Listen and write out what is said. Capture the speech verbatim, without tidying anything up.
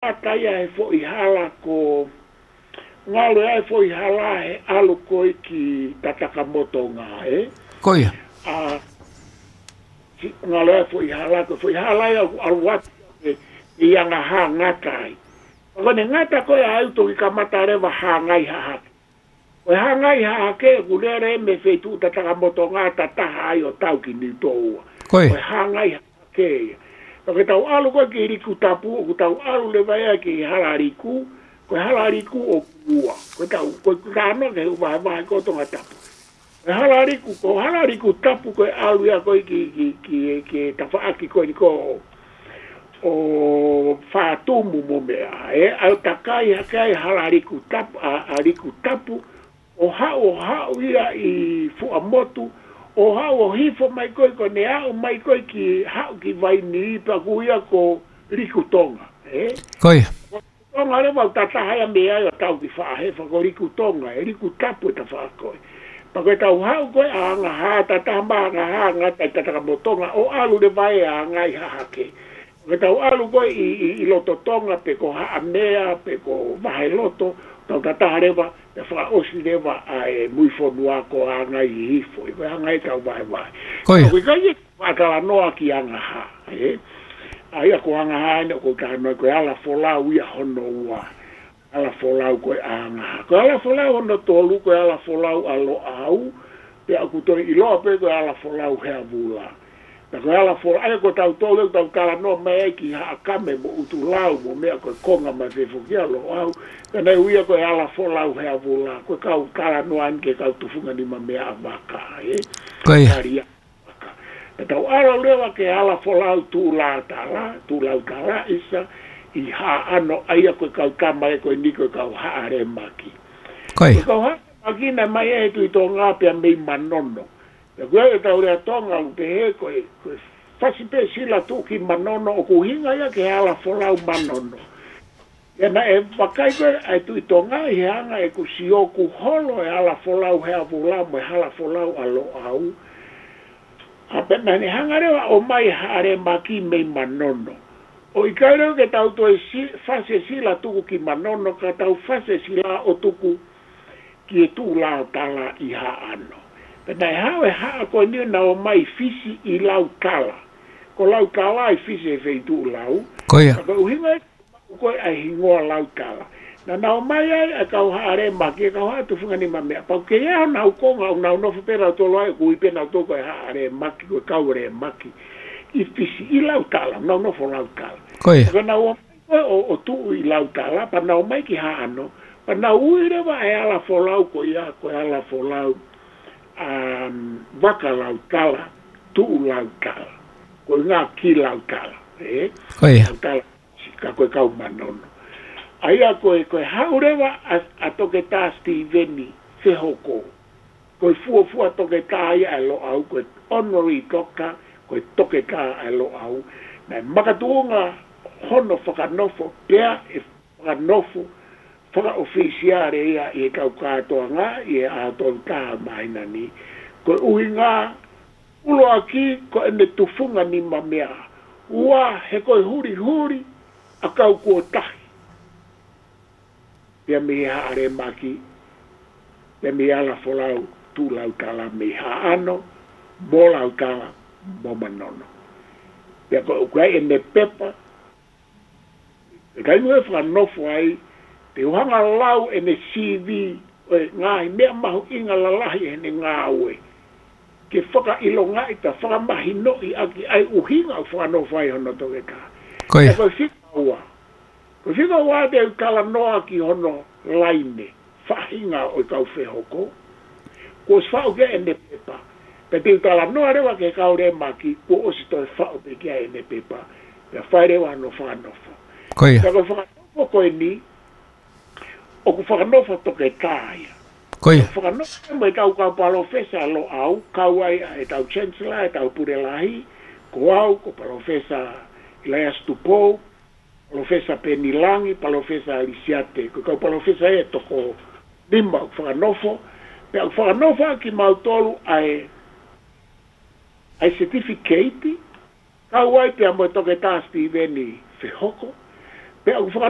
ʻata ia he foʻi hala ko, ngalo ia he foʻi hala he ʻalu ko ē ki Tatakamotonga, ē? Ko ia. ʻA, si-, ngalo ia he foʻi hala ko, foʻi hala ia ʻoku ʻalu atu ē, ʻi anga hā ngata ai. Ka ko ʻene ngata ko ē ʻa ē ʻoku toki kamata leva hāngai hahake. Ko e hāngai hahake ʻoku lele mei he feituʻu Tatakamotonga ʻo tataha ai ʻo tau ki Niutōua. Ko ia. Ko e hāngai hahake ia. Ka ko ʻetau ʻalu ko ē ki Likutapu, ʻoku tau ʻalu leva ia ki Halaliku, ko e Halaliku ʻoku ua. Ko ʻetau, ko e talanoa ki he ʻū vahevahe ko Tongatapu. Ko e Halaliku, ko Halalikutapu ko e ʻalu ia ko ē ki, ki, ki, ki he tafaʻaki ko eni ko ē ʻo Fātumu mo meʻa. Ē, ʻa ē ʻoku takai hake ai Halalikutapu, ʻa, ʻa Likutapu, ʻo haʻu, ʻo haʻu ia ʻi Fuaʻamotu, ʻo haʻu ʻo hifo mai ko ē, ko ʻene aʻu mai ko ē ki, haʻu ki Vainī, pea ʻoku ui ia ko Likutonga, ē? Ko ia. Tonga leva ʻoku tataha ia mei ai ʻo tau ki Faʻahefa, ko Likutonga, ē, Likutapu e tafaʻaki ko ē. Pea ko ʻetau haʻu ko ē ʻa Angahā, tataha mai Angahā, ngata ʻi Tatakamotonga, ʻo ʻalu leva ē ʻa Ngāi Hahake. Ko ʻetau ʻalu ko ē ʻi, ʻi, ʻi loto Tonga pe ko Haʻamea, pe ko Vaheloto, tau tataha leva, pea fakaʻosi leva ʻa e mui fonua ko Angahihifo, ʻi ko e hanga ʻe tau vaevae. Ko ia. Ka ʻoku ʻikai ke faʻa talanoa ki Angahā, ē? ʻA ia ko Angahā eni ʻoku ou talanoa ko e ala folau ia hono ua. Ala folau ko ē ʻa Angahā. Ko e ala folau hono tolu, ko e ala folau ʻa Loʻau, pea ʻoku toe ʻiloa pē ko e ala folau Heavula. Pea ko e ala folau, ʻa ia ko tautolu ʻoku tau talanoa mai ai ki Haʻakame mo ʻUtulau mo meʻa ko e konga mai fefoki ʻa Loʻau. Pea naʻe ui ia ko e ala folau Heavula, ko e kau talanoa eni ki he kau tufunga nima meʻa vaka, ē? Ko ia. Kali ia. Pea tau ʻalu leva ki he ala folau Tuʻulautala, Tuʻulautala ʻisa, ʻi Haʻano, ʻa ia ko e kau tama ē ko eni ko e kau Haʻalemaki. Ko ia. Ko e kau Haʻalemaki naʻe ō mai ʻa e Tuʻi Tonga pea mei Manono. Pea ko e ʻetau lea Tonga ʻoku pehē ko e, ko e fasi pē sila tuʻu ki Manono ʻoku ʻuhinga ia ki he ala folau Manono. ʻIa naʻe vakai ko ē ʻa e Tuʻi Tonga ʻi he anga ʻeku sio ʻoku holo e ala folau Heavula mo e ala folau ʻa Loʻau. ʻA pea naʻa ne hanga leva ʻo ʻomai Haʻalemaki mei Manono. ʻOku ʻikai leva ke tau toe si-, fasi e sila tuku ki Manono ka tau fasi e sila ʻo tuku ki he Tuʻulautala ʻi Haʻano. Pea naʻe haʻu e haʻa ko eni naʻe ō mai Fisi ʻi Lautala. Ko Lautala ʻi Fisi he feituʻu lau. Ko ia. Ka ko e ʻuhinga ia ko ē ʻa e hingoa Lautala. Naʻa nau ō mai ai ʻa e kau Haʻalemaki, ʻa e kau haʻa tufunga nima meʻa. Pau ke ia honau konga ʻoku nau nofo pē nautolu ai, ʻoku ui pē nautolu ko e Haʻalemaki, ko e kau Lemaki. ʻI Fisi, ʻi Lautala, nau nofo Lautala. Ko ia. Ka nau ō mai ko ē ʻo, ʻo tuʻu ʻi Lautala, pea nau ō mai ki Haʻano, pea nau ui leva e ala folau ko ia, ko e ala folau, um, Vakalautala, Tuʻulautala. Ko e ngaahi Lautala, ē? Ko ia. Lautala, ka ko e kau Manono. ʻA ia ko e, ko e haʻu leva ʻa, ʻa Toketā Sitīveni Fehoko. Ko e fuofua toketā ia ʻa e Loʻau, ko e honorary doctor, ko e toketā ʻa e Loʻau. Naʻe makatuʻunga hono fakanofo, pea ʻe fakanofo fakaʻofisiale ia ʻi he kau kātoanga ʻi he ʻaho tolu taha māhina ni. Ko e ʻuhinga ʻuluaki ko ʻene tufunga nima meʻa. Ua, he ko e hulihuli ʻakau kuo tahi. Pea mei he Haʻalemaki, pea mei he ala folau Tuʻulautala mei Haʻano, mo Lautala, mo Manono. Pea ko, ko e ʻene pepa, ʻe kai mo e fakanofo ai, te u hanga lau ʻene C V, ʻo e ngaahi meʻa mahuʻinga lalahi ʻi heʻene ngāue. Ke fakaʻilongaʻi pea fakamahinoʻi ʻaki ʻa e ʻuhinga ʻoku fakanofo ai hono toketā. Ko ia. Pea ko e fika ua. Ko e fika ua te u talanoa ki hono laine, faʻahinga ʻo e kau Fehoko. Kuo ʻosi faʻu ki ai ʻene pepa. Pea te u talanoa leva ki he kau Lemaki, kuo ʻosi toe faʻu pē ki ai ʻene pepa. Pea fai leva hono fakanofo. Ko ia. Pea ko e fakanofo ko eni, ʻoku fakanofo toketā ia. Ko ia. Fakanofo mo e kau, kau palōfesa Loʻau, kau ai ʻa e kau Chancellor, ʻa e kau Pule Lahi, ko au, ko Palōfesa ʻIlaiasi Tupou, Palōfesa Peni Langi, Palōfesa Lisiate, ko e kau palōfesa ʻe toko nima ʻoku fakanofo, pea ʻoku fakanofo ʻaki kimautolu ʻa e, ʻa e certificate, kau ai pea mo e Toketā Sitīveni Fehoko, Pea ʻoku faka